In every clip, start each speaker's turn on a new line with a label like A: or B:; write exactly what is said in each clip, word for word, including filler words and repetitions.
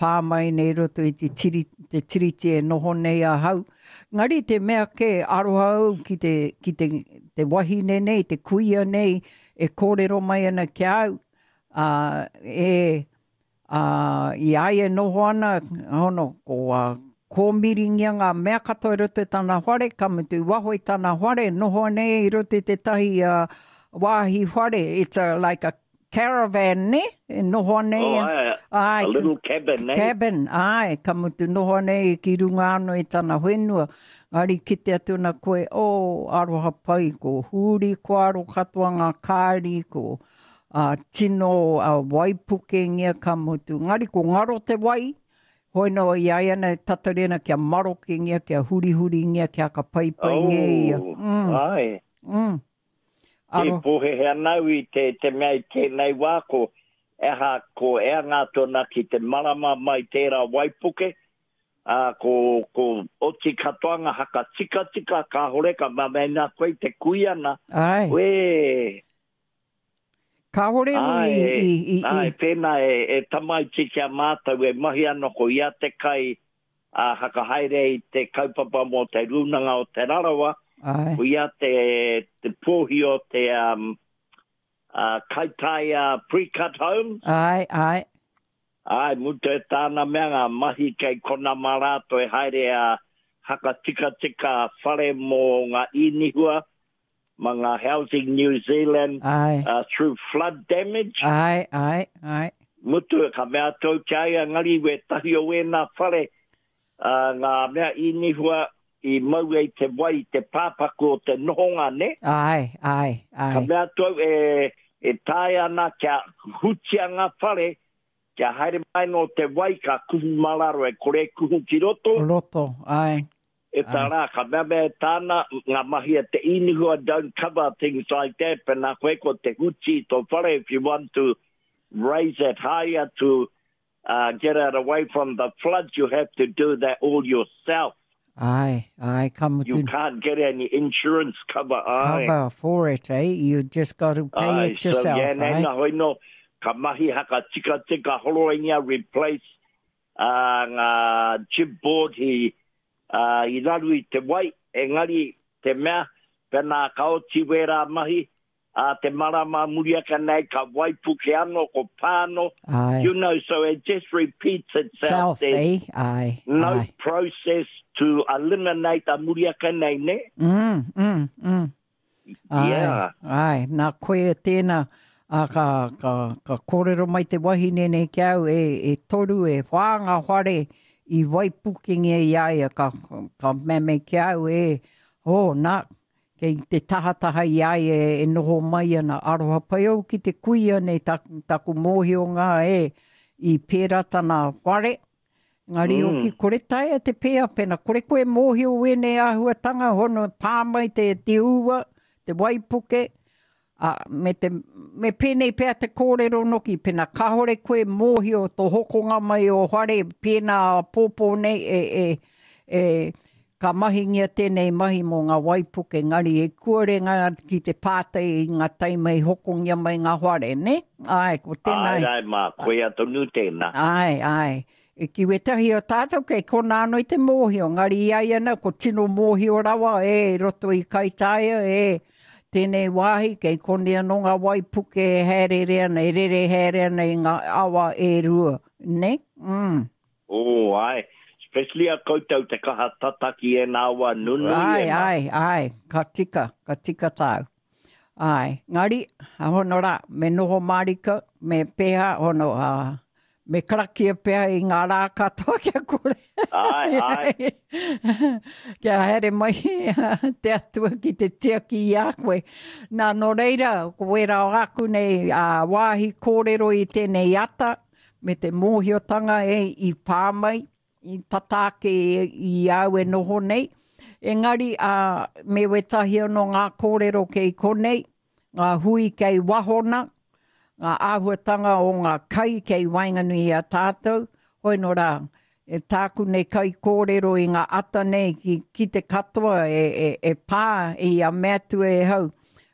A: pā mai nei roto i te, tiri, te tiriti e noho nei ahau. Ngari te mea ke aroha au ki te, ki te, te wahine nei, te kuia nei, e kōrero mai ana ki au, uh, e, uh, i a ia e noho ana, hono, ko uh, kōmiringia ngā mea katoa i roto i tana whare, ka mutu i waho i tana whare, noho nei i roto i tētahi uh, wāhi whare, it's a, like a caravan, ne? E noho nei.
B: Oh, ai,
A: ai,
B: a little cabin, eh?
A: Cabin, ai, ka mutu noho nei ki runga anō i tana whenua. Ngari kite atu na koe, oh, aroha pai, ko huri ko aro katoa ngā kāri, ko uh, tino uh, waipukengia ka mutu. Ngari ko ngaro te wai, hoi no i ai ana e tatari ana kia marokengia, kia hurihuringia, kia ka paipaingia ia.
B: Oh,
A: Mm,
B: ai.
A: mm.
B: Te
A: Aro,
B: pōhehe ana au i te, te mea i tēnei wā ko eha ko ea ngā tōna ki te marama mai tērā waipuke, ā, ko, ko oti katoa ngā haka tika tika kāhore ka mamena koe te kuiana.
A: ai.
B: Uē,
A: Kāhore au
B: ai,
A: i, i, i, i,
B: ai, pēnā e, e tamaiti kia mātau e mahi ana ko ia te kai a hakahaere i te kaupapa mō te rūnanga o Te Rarawa,
A: ai.
B: ko ia te, te pōhi o te um, uh, Kaitaia Pre-Cut Homes.
A: Ai, ai.
B: Ai, mutu e tāna mea ngā mahi kei kona mā rātou e haere a haka tika tika whare mō ngā īnihua, ma ngā Housing New Zealand
A: Ai.
B: uh, through flood damage.
A: Ai, ai, ai.
B: Mutu ka mea tau kia ia ngari we tahi o wēnā whare uh, ngā mea īnihua i mau e te wai te pāpaku o te nohonga, ne?
A: Ai, ai,
B: Ka
A: ai.
B: mea tau e, e tae ana kia hutia ngā whare, kia haere mai no te wai ka kuhu mararo e kore kuhu ki roto.
A: Roto, ai.
B: E tā rā, ka mea mea e tāna, ngā mahi a te īnihua don't cover things like that, pēnā koe ko te huti i tō whare if you want to raise it higher to uh, get it away from the floods, you have to do that all yourself.
A: Ai, ai, ka
B: You
A: mutu
B: can't get any insurance cover, ai.
A: cover for it, eh? You just got to pay
B: Ai,
A: it yourself,
B: so, yeah,
A: eh?
B: nā hoi no, ka mahi haka tika tika horoingia replace uh, ngā jib board hi, uh, i raru i te wai, engari te mea, pēnā ka oti wērā mahi, a te marama muri ake nei, ka waipuke anō, ko pāno,
A: Ai.
B: you know, so it just repeats itself.
A: Self,
B: There's
A: eh? Ai,
B: no
A: ai.
B: process to eliminate a muri ake nei, ne?
A: Mm, mm, mm. Ai,
B: Yeah.
A: ai, nā koe tēnā, a ka, ka, ka kōrero mai te wahine nei ki au, e, e toru, e whā ngā whare i waipukengia i a ia, ka, ka mea ki au, e, oh, nā, kei te tahataha i a ia e noho mai ana, aroha pai au ki te kuia nei taku, taku mōhio ngā e, i pērā tana whare, Ngari
B: Mm.
A: oki kore taea te pēa pena, kore koe mōhio wēnei āhuatanga, hono pā mai te, te ua, te waipuke, a, me, te, me pēnei pea te kōrero noki, pena kāhore koe mōhio tō hokonga mai o whare, pēnā pōpō nei e, e, e, ka mahingia tēnei mahi mō ngā waipuke, ngari e kuare ngā ki te pātai i ngā taima i hokongia mai ngā whare, ne? Ai, ko tēnā.
B: Ai, ai, mā, koe a tonu tēnā.
A: Ai, ai. E ki wetahi o tātou kei kona anō i te mōhio. Ngari i ai ana, ko tino mōhio rawa, e, roto i Kaitaia, e, tēnei wāhi, kei koni anō ngā waipuke e haerere ana, e rere haere ana i ngā awa e rua, ne? Mm.
B: Oh, ai. Especially a koutou te kaha tataki e nā wā nunui
A: Ai,
B: e nā.
A: ai, ai, ka tika, ka tika tāu. Ai, ngari, a hono rā, me noho mārika, me pēhā, hono, a, me karakia pēhā i ngā rā katoa kia kore.
B: Ai, ai.
A: Kia haere mai te atua ki te tiaki i a koe. Nā, nō reira, ko wērā o aku nei a, wāhi kōrero i tēnei ata, me te mōhiotanga e i pā mai, i tata ake i au e noho nei. Engari, a, me wetahi anō ngā kōrero kei konei, ngā hui kei wahona, ngā āhuatanga o ngā kai kei waenganui i a tātou, hoi nō rā, e tāku nei kai kōrero i ngā ata nei ki, ki te katoa e, e, e pā i a mea atu e hau.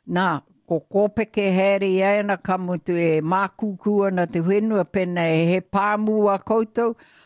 A: Nā, Ko kōpeke haere i ana ka mutu e mākūkū ana te whenua pēnā he pāmu a koutou.